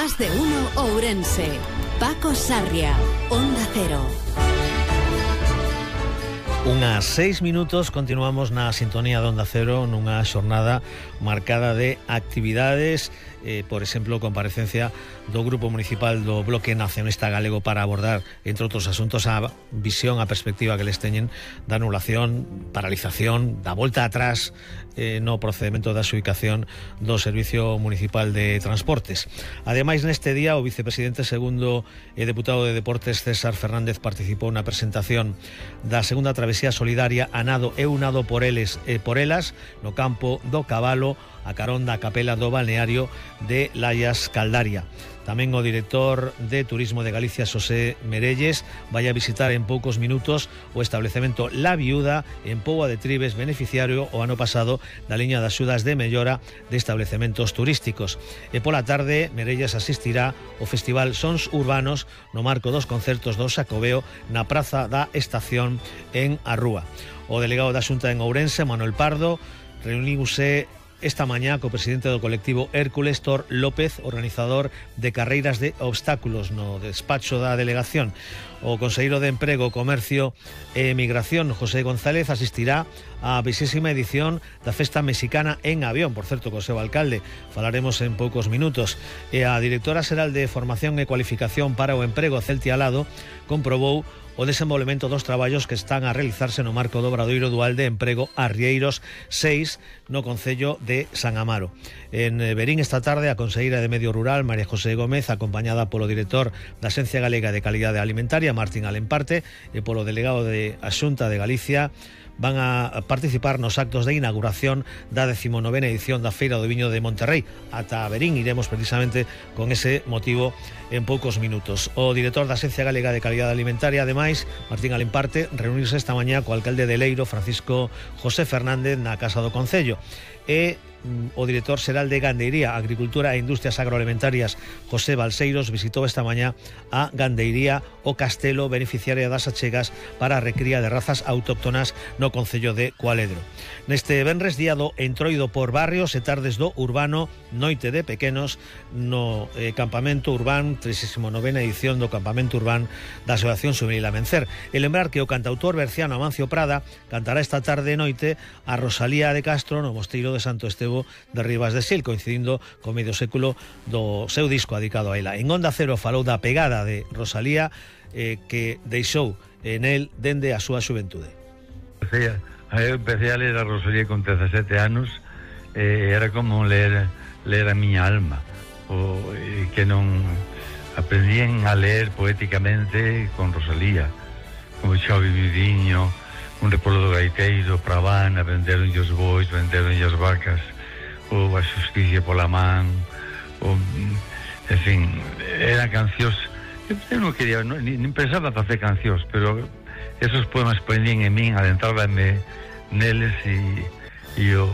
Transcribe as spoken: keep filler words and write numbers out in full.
Más de uno Ourense. Paco Sarria, Onda Cero. Unhas seis minutos, continuamos na sintonía de Onda Cero nunha xornada marcada de actividades, eh, por exemplo, comparecencia do Grupo Municipal do Bloque Nacionalista Galego para abordar, entre outros asuntos, a visión, a perspectiva que les teñen da anulación, paralización, da volta atrás eh, no procedimento da xubicación do Servicio Municipal de Transportes. Ademais, neste día, o vicepresidente segundo e deputado de Deportes César Fernández participou na presentación da segunda travesía solidaria a nado e unado por eles e por elas no campo do Cabalo a carón da capela do balneario de Laias Caldaria. Tamén o director de Turismo de Galicia, Xosé Merelles, vai a visitar en poucos minutos o establecemento La Viuda en Póvoa de Tribes, beneficiario o ano pasado da liña de axudas de mellora de establecementos turísticos. E pola tarde, Merelles asistirá ao Festival Sons Urbanos no marco dos concertos do Xacobeo na Praza da Estación en A Rúa. O delegado da Xunta en Ourense, Manuel Pardo, reuniuse esta mañá co presidente do colectivo Hércules, Tor López, organizador de carreiras de obstáculos no despacho da delegación. O conselleiro de Emprego, Comercio e Emigración, José González, asistirá á vexésima edición da Festa Mexicana en Avión, por certo, co seu alcalde. Falaremos en poucos minutos. E a directora xeral de Formación e Cualificación para o Emprego, Celtia Alado, comprobou o desenvolvemento dos traballos que están a realizarse no marco do Obradoiro Dual de Emprego Arrieiros seis no concello de San Amaro. En Verín esta tarde a conselleira de Medio Rural, María José Gómez, acompañada polo director da Axencia Galega de Calidade Alimentaria, Martín Alemparte, e polo delegado de a Xunta de Galicia, van a participar nos actos de inauguración da decimonovena edición da Feira do Viño de Monterrey. Ata Verín iremos precisamente con ese motivo en poucos minutos. O director da Axencia Galega de Calidade Alimentaria, ademais, Martín Alemparte, reunirse esta mañá co alcalde de Leiro, Francisco José Fernández, na Casa do Concello. E o director xeral de Gandeiría, Agricultura e Industrias Agroalimentarias, José Balseiros, visitou esta mañá a Gandeiría o Castelo, beneficiaria das achegas para a recría de razas autóctonas no concello de Cualedro. Neste venres, día do entroido por barrios e tardes do urbano, noite de pequenos no eh, campamento urbán, trinta e novena edición do campamento urbán da Asociación Xuvenil Amencer. E lembrar que o cantautor berciano Amancio Prada cantará esta tarde e noite a Rosalía de Castro no Mosteiro de Santo Estevo de Ribas de Sil, coincidindo co medio século do seu disco dedicado a ela. En Onda Cero falou da pegada de Rosalía eh, que deixou en el dende a súa xuventude. Eu empecé a ler a Rosalía con dezasete anos, eh, era como ler, ler a miña alma, o, eh, que non aprendían a ler poéticamente con Rosalía, como Xavi Vidiño, un repolo do gaiteiro, Pravana, venderon os bois, venderon as vacas, ou a xusticia pola man, ou, en fin, eran cancións. Eu non quería, non, nin pensaba facer cancións, pero esos poemas prendían en min, adentrábame neles e, e o